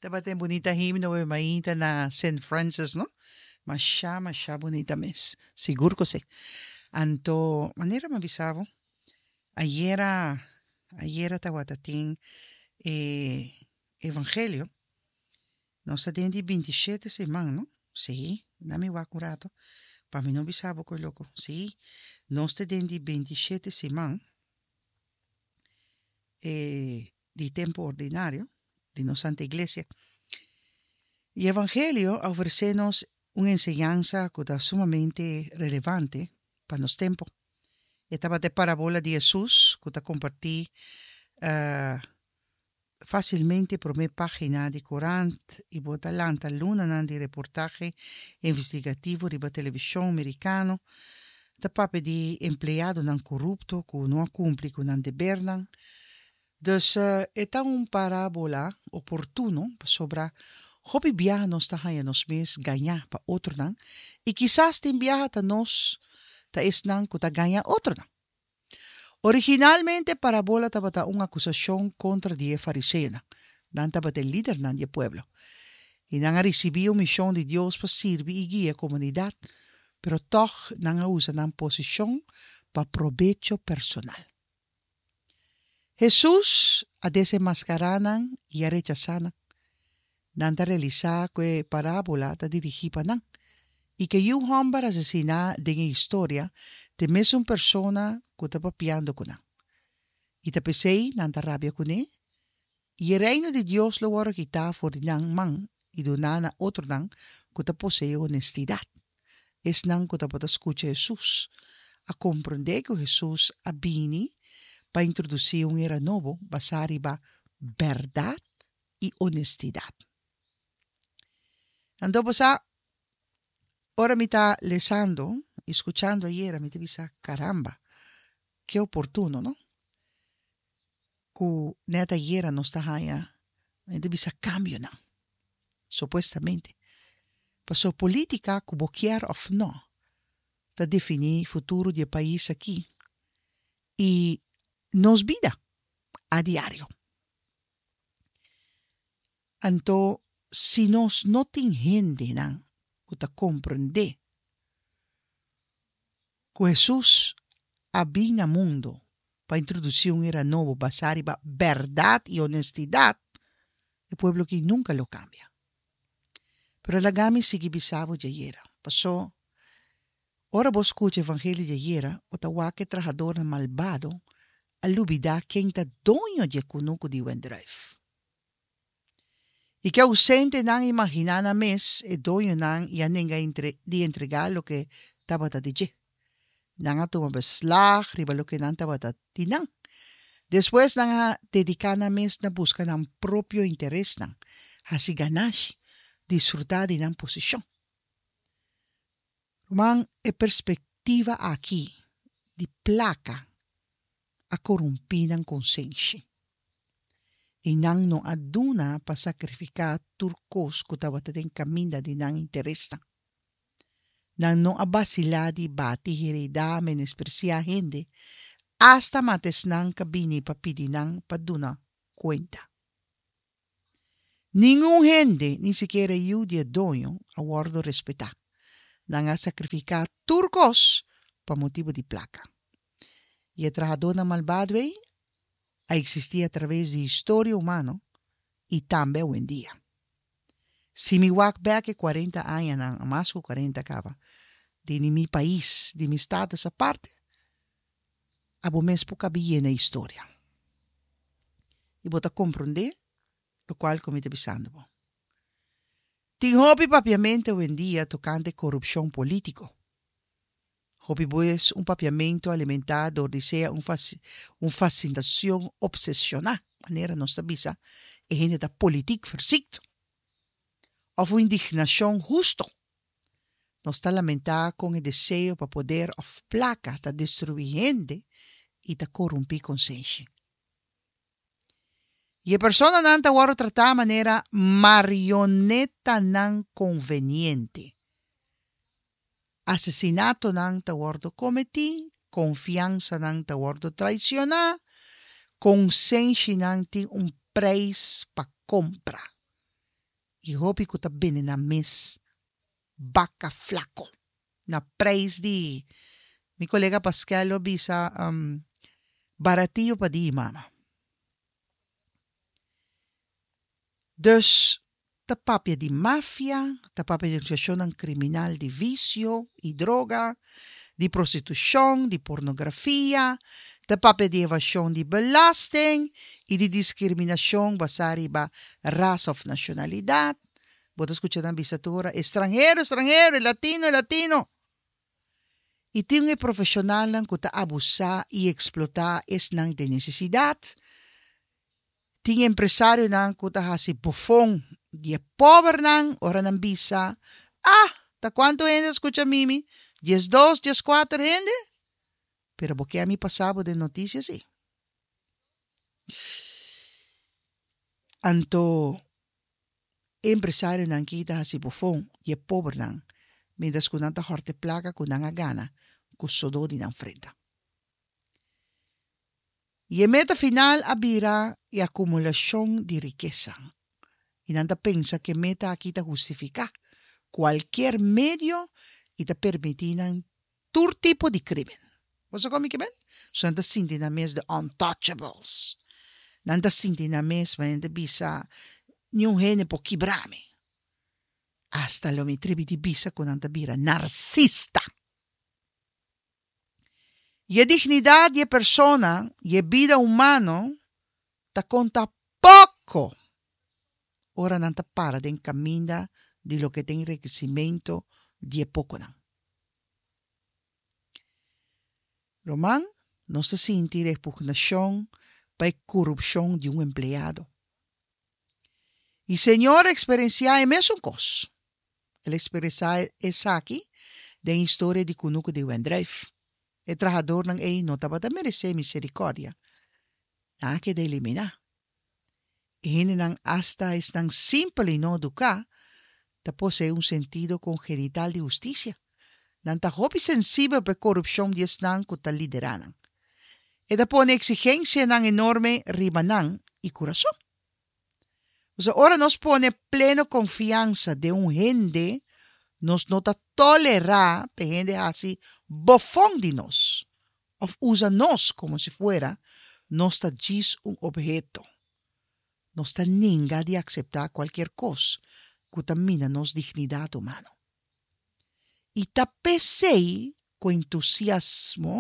Tabatin bunita himno we mainta na Saint Francis, no? Masha, masha bunita mes. Sigur ku si. Anto, manera mi a bisa bo, ayera, ayera tabata tin e evangelio. Nos ta den di bintishete siman, no? Sí, na mi wak un rato, pa mi no bisa bo koe loko. Sí, nos ta den di bintishete siman. E di tempu ordinario di nos Santa Iglesia. E Evangelio a ofresé nos un enseñansa ku ta sumamente relevante pa nos tempu. E tabata e parabola di Hesus ku ta kompartí fásilmente promé página di korant i bo ta lanta lunanan di reportahe investigativo riba televishon merikano ta papia di empleadonan korupto ku no a kumpli ku nan debernan. Dus e ta un parábola oportuno pasobra hopi biaha nos ta haña nos mes gañá pa otronan i kisas tin biaha ta nos ta esnan ku ta gaña otronan. Originalmente e parábola tabata un akusashon kontra di e fariseonan. Nan tabata e lidernan di e pueblo. I nan a risibí un mishon di Dios pa sirbi i guia e komunidat, pero tòg nan a usa nan posishon pa probecho personal. Hesus a desenmaskará nan i a rechasá nan. Nan ta realisá ku e parábola ta dirigí pa nan i ku e yu hòmber asesiná den e historia ta e mesun persona ku ta papiando ku nan. I ta p'esei nan ta rabia kuné I e Reino di Dios lo wòrdu kitá for di nan man i duná na otronan ku ta poseé honestidat. Esnan ku tabata skucha Hesus a komprondé ku Hesus a bini pa introdusí un era nobo basá riba bèrdat i honestidat. Anto bo sa, ora mi ta lesando i skuchando ayera mi ta bisa, Karamba, ke oportuno, no? Ku nèt ayera nos ta haña e ta bisa kambionan, supuestamente. Paso polítika ku bo kier òf nò ta definí futuro di e pais aki i nos bida a diario. Anto si nos no tin hendenan ku ta komprendé ku Hesus a bin na mundu pa introdusí un era nobo basá riba bèrdat i onestidat, e pueblo aki nunka lo kambia. Pero laga mi sigui bisa bo djayera, pasó ora bo skucha evangelio djayera, bo ta wak e trahadornan malbado a lubidá ken ta doño dje kunuku di wendrùif. I ke ousentenan imaginá nan mes e doñonan i a nenga di entregá loke tabata di dje. Nan a tuma beslag riba loke nan tabata di nan. Despues nan a dediká nan mes na buska nan propio interesnan, hasi ganashi, disfrutá di nan posishon. Ruman, e perspektiva aki di plaka a korumpí nan konsenshi, i nan no a duna pa sakrifiká tur kos ku tabata den kaminda di nan interesnan. Nan no a basilá di bati, heredá, menespresiá hende, asta mata esnan ku a bini pa pidi nan pa duna kuenta. Ningun hende, ni sikiera e yu di e doño, a wòrdu respetá. Nan a sakrifiká tur kos pa motibu di plaka. I e trahadónan malbado ei a eksistí atraves di historia humano i tambe awendia. Si mi wak bèk e kuarenta añanan, mas ku kuarenta kaba, di mi pais, di mi status aparte, Abo mes por kabi yena e historia. I bo ta komprondé lokual ku mi ta bisando bo. Tin hopi papiamentu awendia tokante korupshon polítiko. Hopi bes un papiamentu alimentá dor di sea un un fasinashon opseshoná, manera nos ta bisa e hende ta politiek verziekt, òf un indignashon husto. Nos ta lamentá kon e deseo pa poder òf plaka ta destruí hende i ta korumpí konsenshi. I e personanan ta wòrdu tratá manera marionetanan konveniente. Asesinatonan ta wòrdu kometí, konfiansanan ta wòrdu traisioná, konsenshinan tin un preis pa kompra. I hopi ku ta bende nan mes baka flako na preis di, mi kolega Paskel lo bisa, baratio pa di mama. Dus ta papia di mafia, ta papia di organisashonnan kriminal di visio i droga, di prostitushon, di pornografia, ta papia di evashon di belasting i di diskriminashon basá riba rasa òf nashonalidat. Bo ta skucha nan bisa tur ora, estranhero, estranhero, e latino, e latino. I tin e profeshonalnan ku ta abusá i eksplotá esnan den nesesidat. Tin empresarionan ku ta hasi bofon di e pobernan ora nan bisa, Ah, ta kuantu hende a skucha mimi? 12, 14 hende? Pero bo ke a mi pasa bo den notisia si. Anto e empresarionan ki ta hasi bofon di e pobernan mientras ku nan ta hòrta e plaka ku nan a gana ku sodó di nan frenta. I e meta final a bira e akumulashon di rikesa. I nan ta pensa ku e meta aki ta hustifiká kualkier medio i ta permití nan tur tipo di krímen. Bo sa kon mi ke men? So nan ta sinti nan mes the untouchables. Nan ta sinti nan mes manera nan ta bisa, Niun hende por kibra mi. Asta lo mi tribi di bisa ku nan ta bira narsista. I e dignidat di e persona i e bida humano ta konta poko ora nan ta para den kaminda di loke ta enrikesimentu di e pokonan. Ruman, nos ta sinti repugnashon pa e korupshon di un empleado. I Señor a eksperensiá e mesun kos. El a eksperensiá esaki den historia di kunuku di wendrùif. E trahadornan ei no tabata meresé miserikòrdia. Nan a keda eliminá. E hendenan, asta esnan simpel i no eduká, ta poseé un sentido kongenital di hustisia. Nan ta hopi sensibel pa e korupshon di esnan ku ta liderá nan. E ta pone eksigensianan enorme riba nan i kurason. Pasobra ora nos pone pleno konfiansa den un hende, nos no ta tolerá pa e hende hasi bofon di nos òf usa nos komo si fuera nos ta djis un obheto. Nos ta ninga di akseptá kualkier kos ku ta mina nos dignidat humano. I ta p'esei ku entusiasmo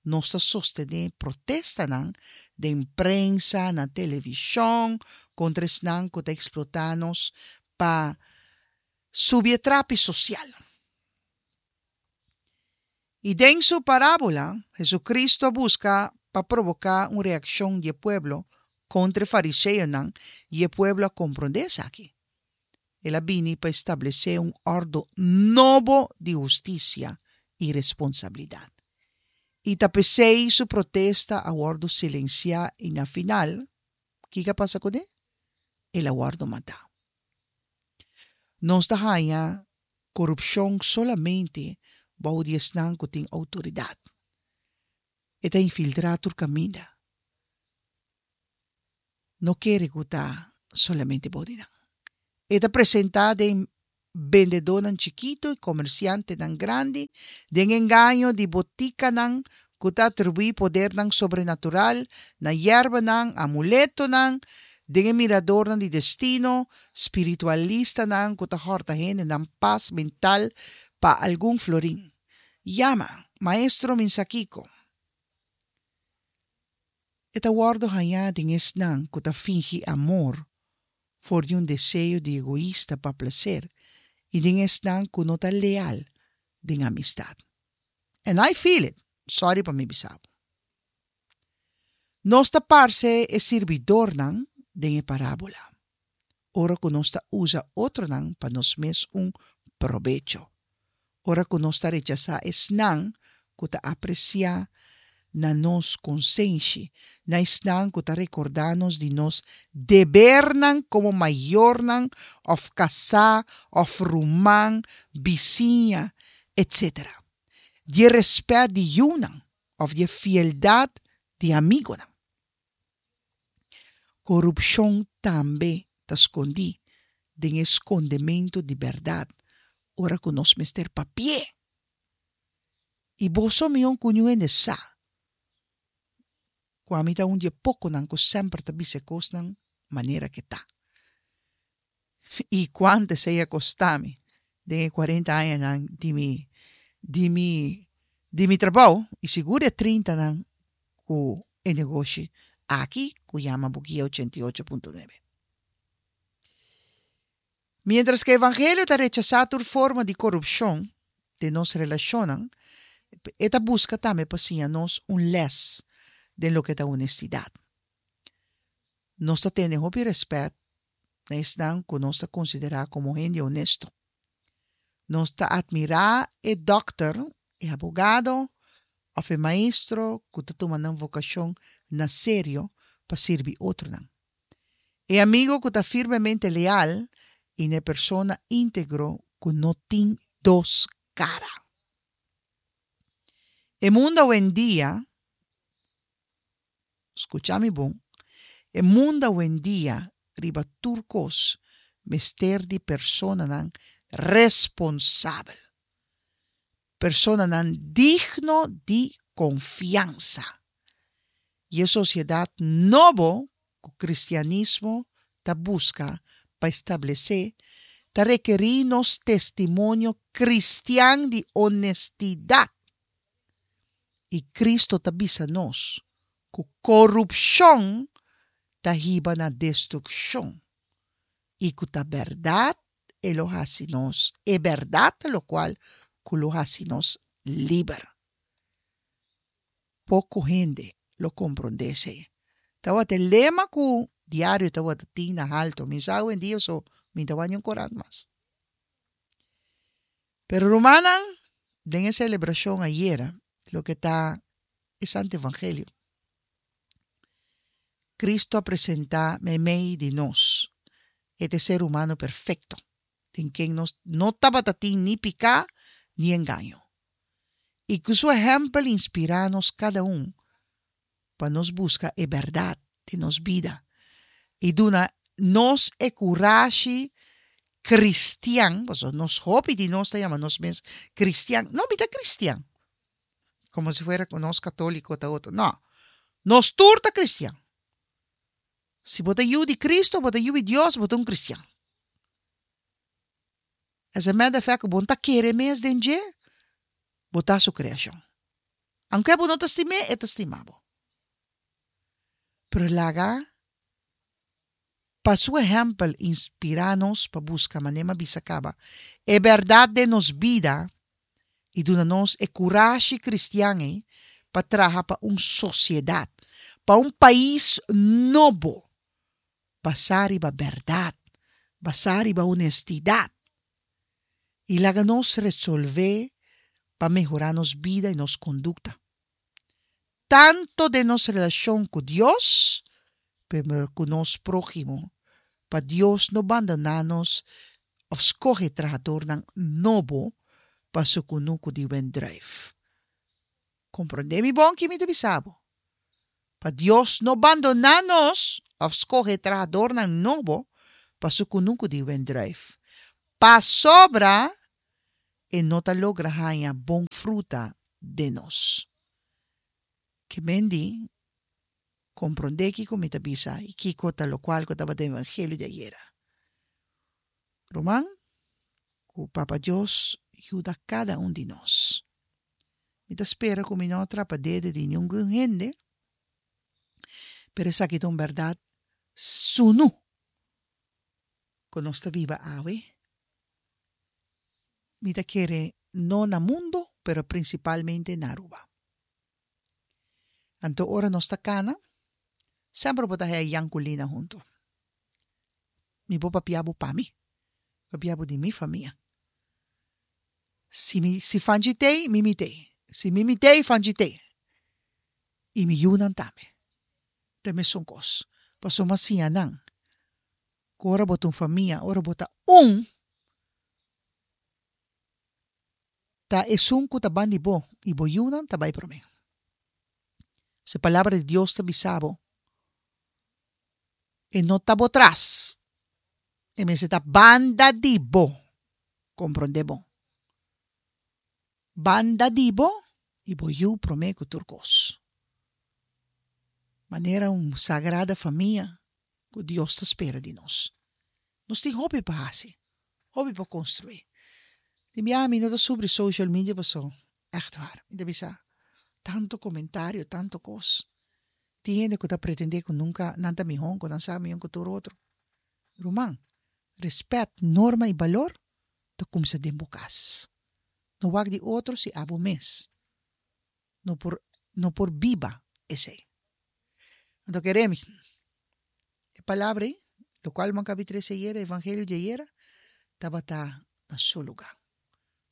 nos ta sostené protestanan den prensa, na televishon, kontra esnan ku ta eksplotá nos pa subi e trapi sosial. I den su parábola, Hesucristo a buska pa proboká un reakshon di e pueblo kontra e fariseonan i e pueblo a komprondé esaki. El a bini pa establesé un òrdu nobo di hustisia i responsabilidat. I ta p'esei su protesta a wòrdu silensiá i na final, kiko a pasa kuné? El a wòrdu matá. Nos ta haña korupshon solamente bou di esnan ku tin outoridat. E ta infiltrá tur kaminda. No kere ku ta solamente bou di nan. E ta presentá den bendedónan chikitu i komersiantenan grandi, den engaño di botikanan ku ta atribuí podernan sobrenatural na yerbanan, amuletonan, den e miradornan di destino, spiritualistanan ku ta hòrta hende nan pas mental pa algun florin. Yama, Maestro Minsakiko. E ta wòrdu hañá den esnan ku ta fingi amor for di un deseo di egoista pa plaser i den esnan ku no ta leal den amistat. And I feel it, sorry pa mi bisa bo. Nos ta parse e sirbidornan den e parábola, ora ku nos ta usa otronan pa nos mes un probecho. Ora ku nos ta rechasá esnan ku ta apresiá na nos konsenshi, na esnan ku ta rekordá nos di nos debernan komo mayornan òf kasá òf ruman, bisiña, etsetera. Di e rèspèt di yunan òf di e fieldat di amigunan. Korupshon tambe ta skondí den e skondementu di bèrdat ora ku nos mester papi'é. I boso mihó ku niun hende sa ku ami ta un di e pokonan ku semper ta bisa e kosnan manera ke ta. I kuantu esei a kosta mi den e kuarenta añanan di mi di mi di mi trabou i sigur e trintanan ku e negoshi aki ku yama Bugia 88.9. Miéntras ku e evangelio ta rechasá tur forma di korupshon den nos relashonnan, e ta buska tambe pa siña nos un lès den loke ta honestidat. Nos ta tene hopi rèspèt na esnan ku nos ta konsiderá komo hende honesto. Nos ta atmirá e dòkter, e abogado òf e maestro ku ta tuma nan vokashon na serio pa sirbi otronan. E amigo ku ta firmemente leal i na e persona íntegro ku no tin dos kara. E mundu awendia, skucha mi bon, e mundu awendia riba tur kos mester di personanan responsabel, personanan digno di konfiansa. I e sosiedat nobo ku kristianismo ta buska pa establesé ta rekerí nos testimonio kristian di onestidat. I Kristo ta bisa nos ku korupshon ta hiba na destrukshon i ku ta bèrdat e lo hasi nos, e bèrdat ta lokual ku lo hasi nos liber. Poko hende lo komprondé esei. Tabata e lema ku diario tabata tin na halto. Mi sa awendia so mi ta wak niun korant mas. Pero rumannan, den e selebrashon ayera, loke ta e Santo Evangelio, Cristo a presentá meimei di nos e ta e ser humano perfekto, den ken nos no tabata tin ni piká ni engaño. I ku su ehèmpel inspirá nos kada un pa nos buska e bèrdat den nos bida i duna nos e kurashi kristian, pasobra nos hopi di nos ta yama nos mes kristian, no mi ta kristian, komo si fuera ku nos katóliko ta otro, no, nos tur ta kristian. Si bo ta yu di Kristu, bo ta yu di Dios, bo ta un kristian. As a matter of fact, ku bo no ta kere mes den dje, bo ta su kreashon. Aunke bo no ta stim'é, e ta stima bo. Pero laga pa su ehèmpel inspirá nos pa buska manera mi a bisa kaba e bèrdat den nos bida i duna nos e kurashi kristian ei pa traha pa un sosiedat, pa un pais nobo basá riba bèrdat, basá riba honestidat. I laga nos resolvé pa mehorá nos bida i nos kondukta, tantu den nos relashon ku Dios pero ku nos próhimo, pa Dios no bandoná nos òf skohe trahadornan nobo pa su kunuku di wendrùif. Komprondé mi bon ki mi ta bisa bo. Pa Dios no bandoná nos òf skohe trahadornan nobo pa su kunuku di wendrùif, pasobra e no ta logra haña bon fruta den nos. Ke men di, komprondé kiko mi ta bisa i kiko ta lokual ku tabata evangelio di ayera. Ruman, ku Papa Dios yuda kada un di nos. Mi ta spera ku mi no a trapa dede di ningun hende, pero esaki ta un bèrdat sunu ku nos ta biba awe. Mi ta kere no na mundu, pero prinsipalmente na Aruba. Anto ora nos ta kana, semper bo ta haya Jan ku Lina huntu. Mi por papia bo pa mi, papia bo di mi famia. Si mi si Fanchi tei, Mimi tei. Si Mimi tei, Fanchi tei. I mi yunan tambe. Ta e mesun kos. Pasobra mi a siña nan ku ora bo ta un famia, ora bo ta un, ta esun ku ta ban di bo i bo yunan ta bai promé. Si e Palabra di Dios ta bisa bo, e no ta bo tras. E mester ta banda di bo. Komprondé bon. Banda di bo i bo yu promé ku tur kos. Manera un sagrada famia ku Dios ta spera di nos. Nos tin hopi pa hasi, hopi pa konstruí. Tin biaha mi no ta subri social media paso, ègt waar, mi ta bisa tantu komentario, tantu kos. Tin hende ku ta pretendé ku nunka nan ta mihó, ku nan sa mihó ku tur otro. Ruman, respèt, norma i balor ta kumsa den bo kas. No wak di otro si abo mes no por no por biba esei. Anto kere mi, e palabra ei, lokual bo a kabi trese ayera, e evangelio di ayera, tabata na su lugá.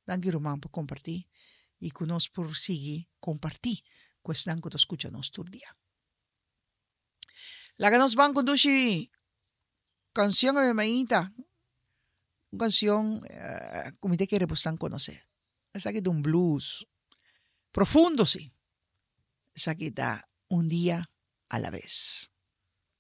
Danki ruman pa kompartí i ku nos por sigui kompartí ku esnan ku ta skucha nos tur dia. Laga nos ban ku dushi kansion awe mainta. Un kansion ku mi ta kere bosnan konosé. Esaki ta un blues profundo si. Esaki ta Un dia a la bes.